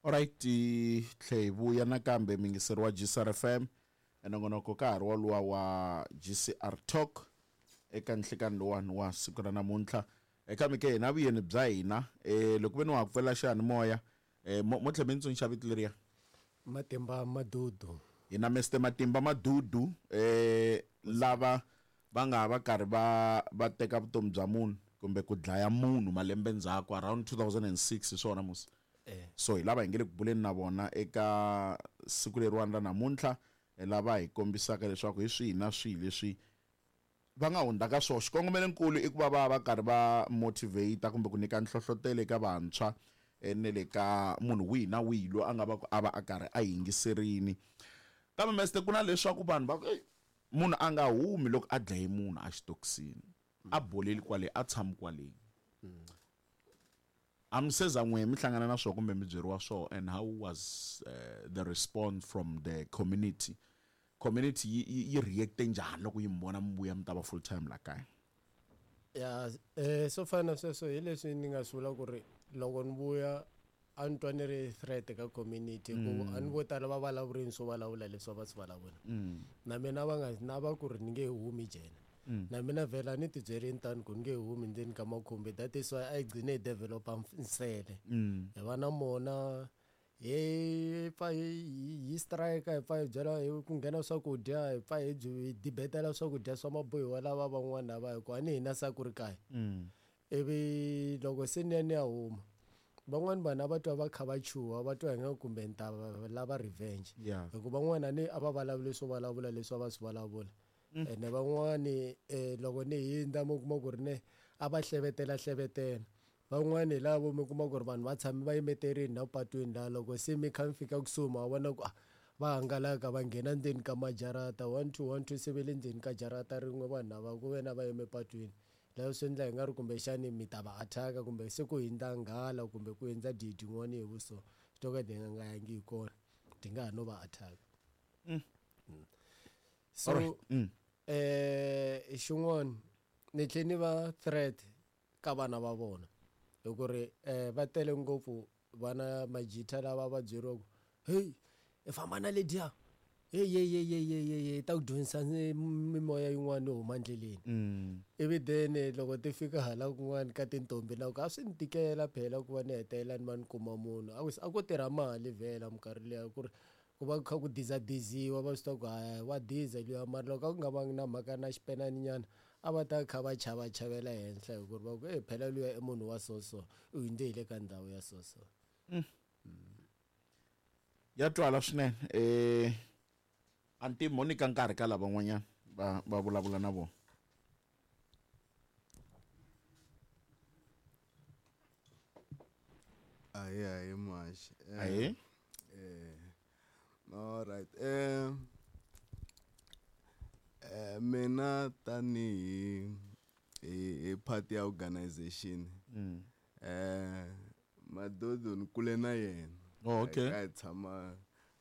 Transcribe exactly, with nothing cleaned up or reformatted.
Alright, tlhe hi vuya nakambe mingiseri wa G C R F M enongonoko ka ha ri woluwa wa G C R Talk eka nhlikani lowani wa siku ra namuntlha. Eka mike hina vuyeni bya hina eh loko ve ni wa pfela xiyanimoya eh mo tlhe mi ntsonxa vito leriya Matimba Madudu. Hina Mister Matimba Madudu eh lava va nga va karhi va va teka vutomi bya munhu kumbe ku dlaya munhu malembe ndzhaku around two thousand and six hi swona musi. Eh. So hi lava hi nge le ku buleni na vona eka siku leriwani ra namuntlha lava hi kombisaka leswaku hi swihi na swihi leswi va nga hundza ka swona. Xikongomelonkulu i ku va va va karhi va motivate kumbe ku nyika nhlohlotelo eka vantshwa ne le ka munhu wihi na wihi loyi a nga va ku a va a karhi a yingiserini. Kambe meste ku na leswaku vanhu va ku munhu a nga humi loko a dlaye munhu a xitokisini a boleli kwale a tshami kwale. A mi se za n'we mi hlangana na swona kumbe mi byeriwa swona, and how was uh, the response from the community? Community yi yi react njhani loko yi mi vona mi vuya mi ta va full time la kaya? Ya eh so fana sweswo hi leswi ni nga swi vula ku ri loko ni vuya a ni twa ni ri threat ka community ku a ni vo tala va vulavurini swo vulavula leswi va swi vulavula. Na mina va nga na va ku ri ni nge humi jena. Na mina vhela ni tibyerini tani ku ni nge humi ndzeni ka makhumbi, that is why a yi gcine hi developa nsele. Hi va na mona hi pfa hi strike, hi pfa hi byela hi ku nghena swakudya, hi pfa hi hi debetela swakudya swa mabohiwa lava van'wana lava hi ku a ni hina sa ku ri kaya. Ivi loko se ni ya ni ya huma van'wani vanhu a va twa va kha va chuha, va twa hi nga kumbe ni ta lava revenge. Hikuva van'wana ni a va vulavuli swo vulavula leswi a va swi vulavula. Ene van'wani loko ni hindza mi kuma ku ri ne a va hlevetela hlevetela. Van'wani hi lavo mi kuma ku ri vanhu va tshame va yimeterini na patwini laha loko se mi kha mi fika kusuhi ma vona ku va hangalaka va nghena ndzeni ka majarata one two one two se ve le ndzeni ka jarata rin'we vanhu lava ku ve na va yime patwini. Laha swi endla hi nga ri kumbexani mi ta va attack kumbe se ku hindza nghala kumbe ku hindza didi yin'wana hi vuso to ka ti nga yangi hi kona ti nga ha no va attack. So eh xin'wana ni tlhe ni va threat ka vana va vona hi ku ri eh va tele ngopfu vana majita lava va byeriwaka hey i famba na lediya hey hey hey hey hey hey ta ku dyondzisa mimoya yin'wana yo huma endleleni. Ivi then loko ti fika hala kun'wana ka tintombi na ku a swi ni tikela phela ku va ni hetelela ni va ni kuma munhu a ku a ku tirha mali vhela minkarhi liya ku ri ku va ku kha ku dizadiziwa va swi tiva ku haya wa diza luya, mara loko a ku nga vangi na mhaka na xipenani nyana a va ta kha va chava chavela henhla hi ku ri va ku e phela luya i munhu wa so so u hundze hi le ka ndhawu ya so so. Ya twala swinene eh anti Monica nkarhi ka lava van'wanyana va va vulavula na vona. Ahe ahe muhaxi. Ahe eh all right eh eh mina tanihi hi hi part ya organization eh Madudu ni kule na yena. Oh, okay. Hi tshama